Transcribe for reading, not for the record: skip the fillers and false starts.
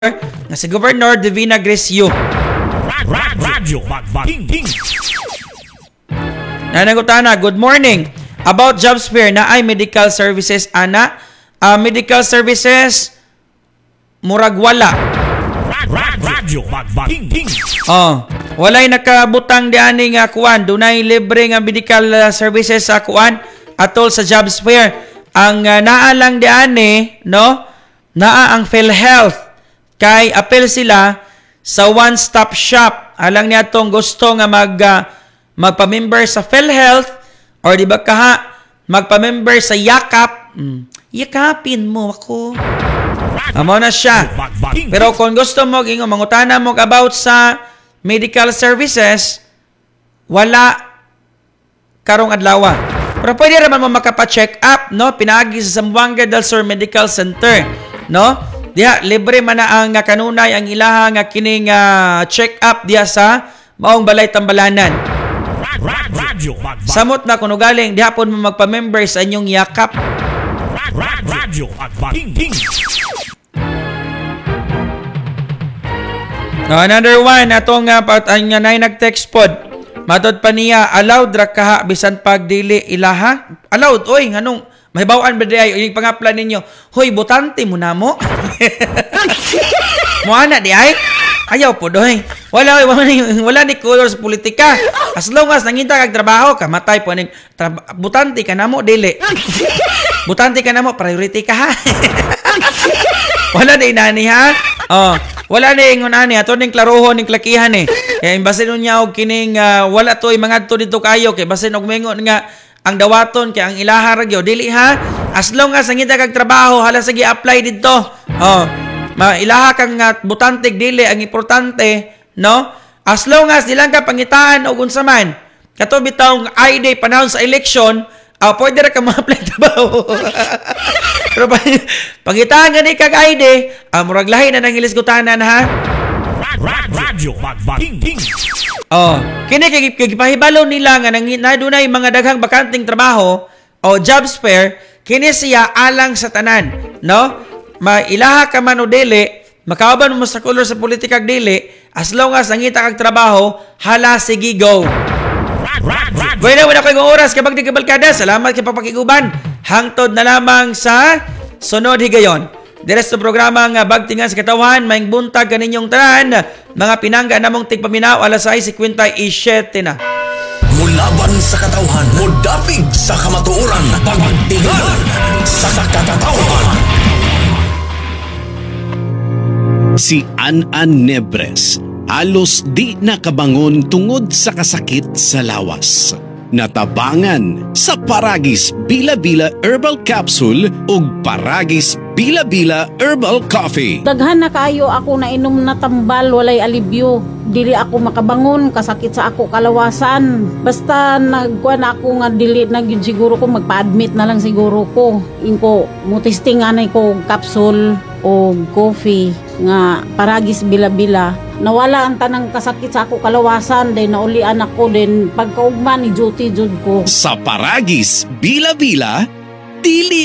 Nga si Governor Divina Grace Yu. Radyo King. Nanagutana, good morning. About jobs fair na ay medical services ana. Medical services murag wala. Radyo King. Oh, walay nakabutang diani nga kuan, dunay libre nga medical services sa kuan atol sa jobs fair. Ang naa lang diani, no? Naa ang PhilHealth kay apel sila sa one-stop shop. Alang niya tong gusto nga magpa-member sa PhilHealth or di ba kaha magpa-member sa Yakap. Yakapin mo ako. Amo na siya. Pero kung gusto mo ingo mangutana mo about sa medical services, wala karong adlaw. Pero pwede raman mo makapa-check up, no? Pinaagi sa Zamboanga del Sur Medical Center, no? Diha libre man na ang kanunay ang ilaha nga kining check up diha sa maong balay tambalanan. Radyo Samot na kuno galing diha pod mo magpa-member sa inyong Yakap. Radyo King. No, another one atong ang nay nag-text pod. Matod pa niya allowed ra kaha bisan pag dili ilaha. Allowed oy, nganong mahibaw-an ba di ay yung pangaplan ninyo? Hoy, botante mo namo. Mo ana di ay. Ayaw po doy. Wala oy, wala ni color sa politika. As long as nangita kag trabaho, kamatay po ning butante ka namo dili. Butante ka namo, priority ka ha. Wala na inani ha. Oh, wala na ingon ani ato ning klarohon ning klakihan eh. Kaya imbasin niya og kining wala toy mangadto didto kayo kay basin og mengon nga ang dawaton kay ang ilaha ra gyud dili ha. As long as nangita kag trabaho, hala sige apply didto. Oh, mailaha kang butante dili ang importante, no? As long as di lang ka pangitaan og unsa man. Kato bitawng ID panahon sa election, pwede ra ka ma-apply trabaho. Pero pangitaan gani kag ID, murag lahi na nang ilisgutanan ha. Radyo King. Oh, kini kay gipahibalo nila nga nang na dunay mga daghang bakanteng trabaho o jobs fair, kini siya alang sa tanan, no? Mailaha ka man o dili, makauban mo sa color sa politika dili, as long as nangita kag trabaho, hala sige go. Bueno, wala ko yung oras kabag di kabalkada. Salamat kay papakiguban. Hangtod na lamang sa sunod higayon. Dire sa programa nga Bagtingan sa Katawan, maing buntag kaninyong tanan, mga pinangga namong tigpaminaw, alas 6:57 na. Mulaban sa katawhan, mudapig sa kamatuoran, Pagtingan sa Katawan. Si An-An Nebres, halos di nakabangon tungod sa kasakit sa lawas. Natabangan sa Paragis Bila-Bila Herbal Capsule ug Paragis Bila-Bila Herbal Coffee. Daghan na kaayo ako nainom na tambal, walay alibyo. Dili ako makabangon, kasakit sa ako kalawasan. Basta nagkuan ako nga dili na gyud siguro ko, magpa-admit na lang siguro ko. Ingko mo testing anay ko og capsule o coffee nga Paragis Bila-Bila. Nawala ang tanang kasakit sa ako kalawasan, then naulian ako, then pagkaugma ni duty jud ko. Sa Paragis Bila-Bila, dili